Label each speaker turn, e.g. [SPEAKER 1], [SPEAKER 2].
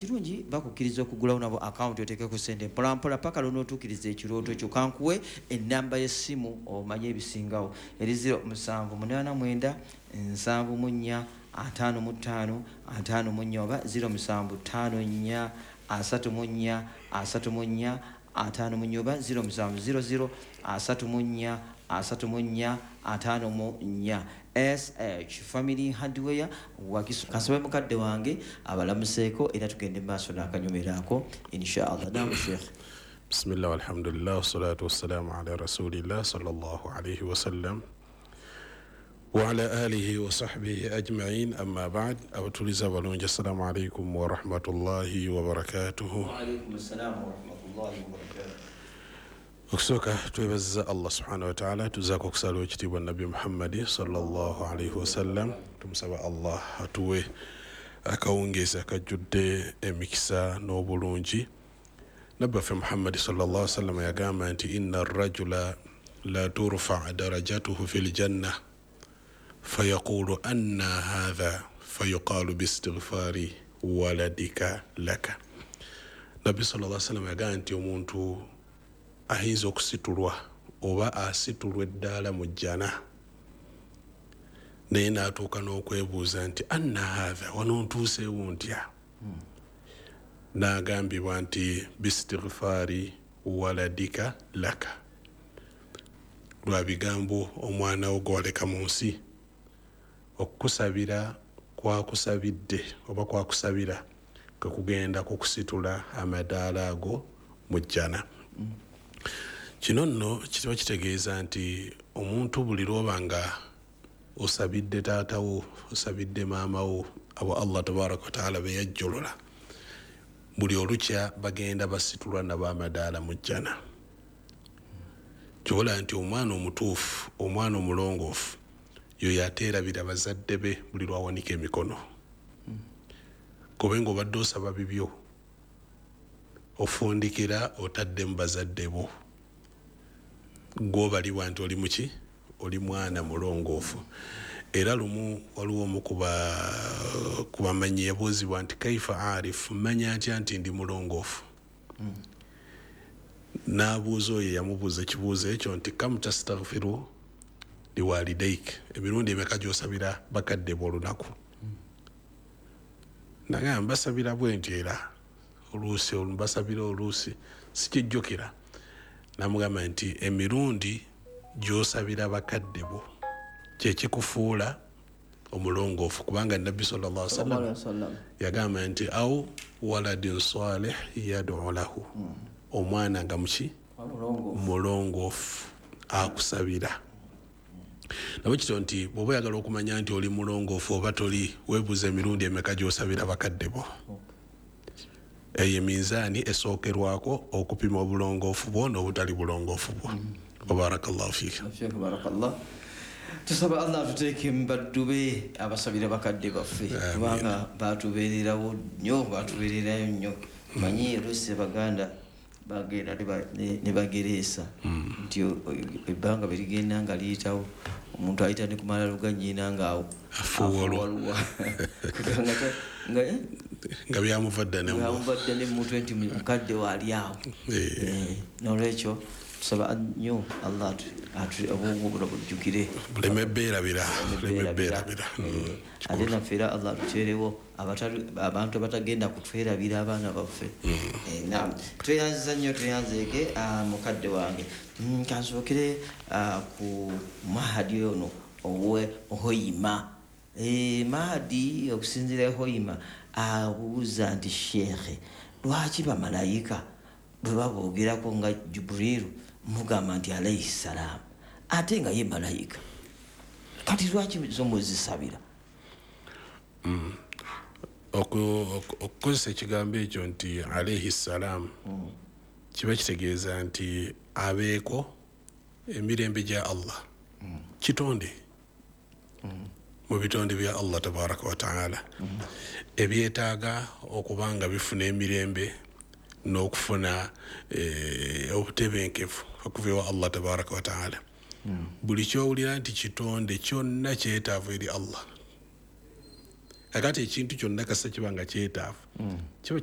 [SPEAKER 1] Kirungi bakukkiriza okugulawo nabo akawunti oteekeko sente mpolampola paka lwonootuukiriza ekirooto kyo. Kankuwe ennamba y'essimu omanye ebisingawo, eri 0789 74 55 54 oba 0754 34 34 54 oba 0700 34 34 54. SH Family Hardware Wakiso. Kasabe mukadde wange abalamuseeko era tugende maaso n'akanyumirako inshallah. Naam Sheikh.
[SPEAKER 2] Bismillah walhamdulillah wassalatu wassalamu ala rasulillah sallallahu alayhi wasallam wa ala alihi wa sahbihi ajma'in, amma ba'd. Abatuliza abalungi, assalamu alaikum wa rahmatullahi wa barakatuhu.
[SPEAKER 1] Wa alaikum assalam wa rahmatullahi wa barakatuh.
[SPEAKER 2] Okusooka twebaza Allah subhanahu wa ta'ala, tuzaako okusala ekitiibwa Nabbi Muhammadi sallallahu alaihi wasallam. Tumusaba Allah atuwe akawungeezi akajjudde emikisa n'obulungi. Nabbi waffe Muhammadi sallallahu alaihi wasallam yagamba nti inna rajula la turfa darajatuhu fil janna fayaqulu anna hadha fayuqalu biistighfari waladika laka. Nabbi sallallahu alaihi wasallam yagamba nti omuntu ayinza okusitulwa oba asitulwa eddaala mu jjana, naye n'atuuka n'okwebuuza nti anna haatha, wano ntuuseewo ntya? N'agambibwa nti bistighfaari waladika laka, lwa bigambo omwana wo gw'oleka mu nsi okukusabira kwakusabidde oba kwakusabira kwe kugenda kukusitula amadaala ago mu jjana. Kino nno kiba kitegeeza nti omuntu buli lw'oba nga osabidde taata wo, osabidde maama wo, abo Allah tabaraka wa taala be yajjolola, buli olukya bagenda basitulwa nabo amadaala mu jjana. Kyobola nti omwana omutuufu, omwana omulongoofu yoyo ateerabira bazadde be buli lwawanika emikono. Kobe ng'obadde osaba bibyo, ofundikira otadde mu bazadde bo, gw'obalibwa nti oli muki, oli mwana mulongoofu. Era lumu waliwo omu ku bamanyi yabuuzibwa nti kaifa arifu, mmanya ntya nti ndi mulongoofu? N'abuuza oyo yamubuuza ekibuuzo ekyo nti kam tastaghfiru liwalidaik, emirundi emeka gy'osabira bakadde bo olunaku? Nagamba mbasabira bwe nti era oluusi mbasabira oluusi sikijjukira. Namugamba nti emirundi gy'osabira bakadde bo kye kikufuula omulongoofu, kubanga Nabbi sallallahu alaihi wasallam yagamba nti au waladin salih yad'u lahu, omwana nga muki mulongoofu akusabira. Nabwe kityo nti bw'oba oyagala okumanya nti oli mulongoofu oba toli, weebuuza emirundi emeka gy'osabira bakadde bo. Eyo eminzaani esookerwako okupima obulongoofu bwo n'obutali bulongoofu bwo. Barakallahu fiik.
[SPEAKER 1] Barakallah. Tusaba Allah atuteeke mu baddu be abasabira bakadde baffe, kubanga batubeererawo nnyo, batubeererayo nnyo. Manyi oluusi Abaganda bagenda ne bagereesa nti ebbanga bwe ligenda nga liyitawo, omuntu ayita ne ku malalo ga nnyina nga afuuwalwa
[SPEAKER 2] nga byamuva dda
[SPEAKER 1] ne mutwe nti mukadde waali awo. N'olwekyo tusaba nnyo Allah obwongo buno bujjukire,
[SPEAKER 2] buleme beerabira.
[SPEAKER 1] Ate naffe era Allah atuteerewo abantu abatagenda kutwerabira abaana baffe. Naam, tweyanziza nnyo, tweyanzeege mukadde wange. Kansookere ku Mahadi ono owe Hoima. Mahadi okusinziira Hoima abuuza nti Sheikh, lwaki bamalayika bwe baboogerako nga Jibrilu mugamba nti alayhi salaam, ate nga ye malayika, kati lwaki zo muzisabira?
[SPEAKER 2] Okukozesa ekigambo ekyo nti alayhi salaam kiba kitegeeza nti abeeko emirembe gya Allah, kitonde mu bitonde bya Allah tabaraka wa taala ebyetaaga okuba nga bifuna emirembe n'okufuna obutebenkevu okuva ewa Allah tabaraka wa taala. Buli ky'owulira nti kitonde kyonna kyetaavu eri Allah. Kakati ekintu kyonna kasita kiba nga kyetaavu, kiba